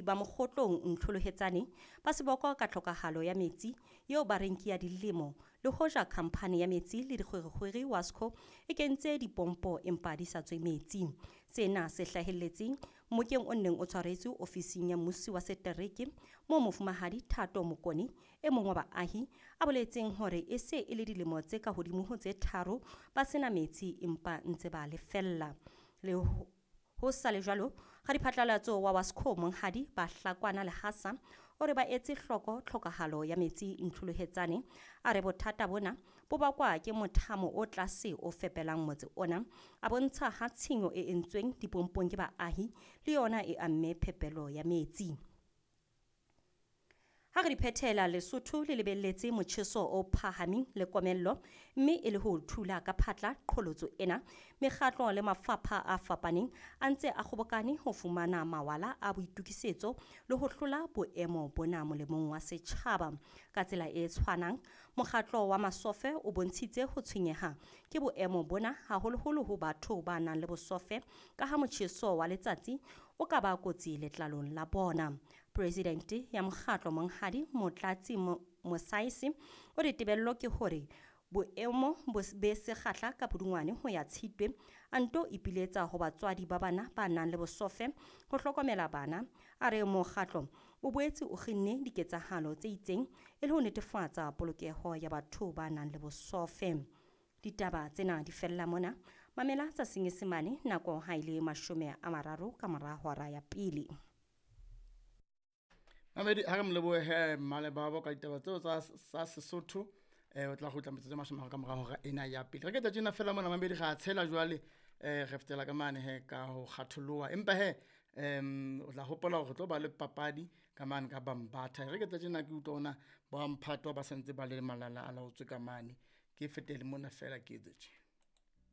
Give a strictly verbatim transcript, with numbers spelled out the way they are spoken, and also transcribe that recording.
ba Mokgotlong Ntlholohetsane ba seboko ka tlhokahalo ya metsi eo ba reng ke ya dilemo, le hoja khamphane ya metsi le dikgwerekgwere WASCO e kentse dipompo empa di sa tswe metsi. Sena se hlahelletseng mmokeng o neng o tshwaretswe ofising ya mmusi wa setereke moo mofumahadi Thato Mokone, e mong wa baahi, a boletseng hore e se e le dilemo tse ka hodimo ho tse tharo ba sena metsi empa ntse ba lefella. Le ho ho sa le jwalo, radiphatlalatso wa WASCO monghadi Bahlakwana Lehasa o re ba etse hloko tlhokahalo ya metsi Ntlholohetsane. A re bothata bona bo bakwa ke mothamo o tlase o fepelang motse ona. A bontsha ha tshenyo e entsweng dipompong ke baahi le yona e amme phepelo ya metsi. Ha re di phethela, Lesotho le lebelletse motjheso o phahameng le komello, mme e le ho thula ka phatla qholotso ena, mekgatlo le mafapha a fapaneng a ntse a kgobokane ho fumana mawala a boitokisetso le ho hlola boemo bona molemong wa setjhaba. Ka tsela e tshwanang, mokgatlo wa Masofe o bontshitse ho tshwenyeha ke boemo bona, haholoholo ho batho ba nang le bosofe, ka ha motjheso wa letsatsi o ka ba kotsi letlalong la bona. Presidente ya mokgatlo monghadi Motlatsi Mosaisi o re tebello ke hore boemo bo be sekgahla ka Pudungwane ho ya Tshitwe, a nto ipiletsa ho batswadi ba bana ba nang le bosofe ho hlokomela bana. A re mokgatlo o boetse o kginne diketsahalo tse itseng e le ho netefatsa polokeho ya batho ba nang le bosofe. Ditaba tsena di fella mona. Mamela tsa Senyesemane nako ha e le mashome a mararo ka mora hora ya pele. Mamedi, ha re mo lebohe Mmalebabo ka ditaba tseo tsa sa Sesotho. Eh o tla kgutla metsotso e mashome a mararo ka mora hora ena ya pele. Re ke tjena fela mona mamedi, ra tshela jwale, eh re fetela ka mane he ka ho kgatholoha. Empa he em o tla hopola hore re tlo ba le papadi ka mane ka Bambatha. Re ke tjena ke utlwa ona ba mphato ba sentse ba le malala a laotswe ka mane. Ke fetele mona fela ke etse tje.